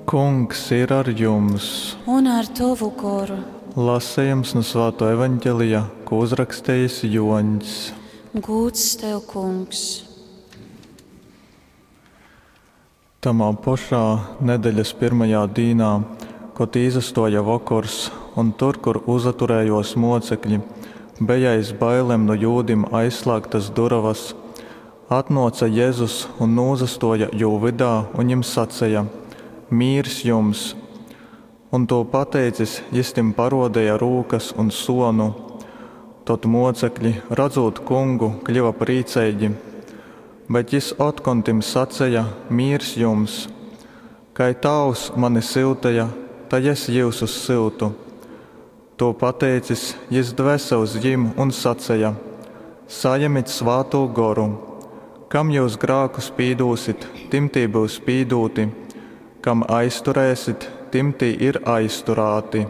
Kungs ir ar jums! Un ar tovu goru. Lasejums nu Svātō Evangelija, ko uzrakstījis Joņs. Gūds tev, kungs! Tamā pošā nedeļas pyrmajā dīnā, kod īsastōja vokors un tur, kur uzaturējōs mōcekļi, beja aiz bailem nu jūdim aizslāgtas durovas, atnōce Jezus un nūsastōja jū vydā un jim saceja, Mīrs jums! Un, tū pateicis, jys tim parōdeja rūkas un sōnu. Tod mōcekļi, radzūt Kungu, kļyva prīceigi. Bet jys otkon tim saceja, Mīrs jums! Kai Tāvs mani syuteja, tai es jyusus syutu. Tū pateicis, jys dvese uz jim un saceja, Sajemit Svātū Goru! Kam jyus grākus pīdūsit, tim tī byus pīdūti, kam aizturēsit, tim tī ir aizturāti.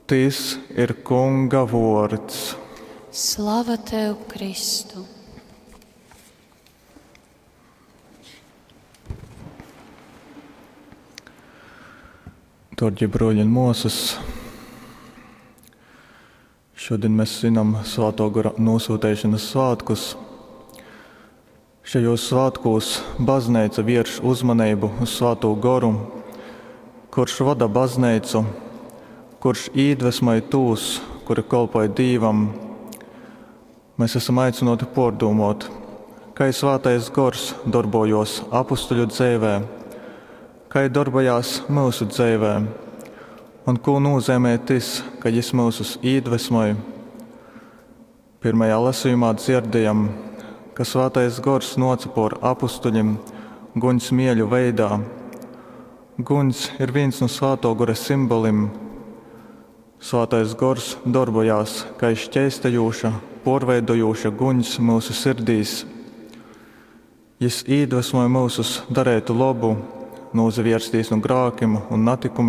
Tys ir Kunga vōrds. Slava tev, Kristu! Dārgie broļi un māsas, šodien mēs svinam Svētā Gora nosūtīšanas svētkus. Šajos svētkos baznīca vērš uzmanību uz Svētū Goru, kurš vada baznīcu, kurš iedvesmoj tos, kuri kolpoj Dīvam. Mēs esam aicināti pārdomāt, kā Svētais Gors darbojos apustuļu dzīvē, kā darbojās mūsu dzīvē, un ko nozīmē tas, ka Jis mūsus iedvesmoj. Pirmajā lasījumā dzirdējam, ka Svētais Gors nāca pār apustuļiem guņs mieļu veidā. Guņs ir viens no Svētā Gora simboliem. Svētais Gors darbojās kā šķeistējoša, porveidojoša guņs mūsu sirdīs. Jis iedvesmoja mūsus darīt labu, nūzavērsties no grākiem un natikumiem.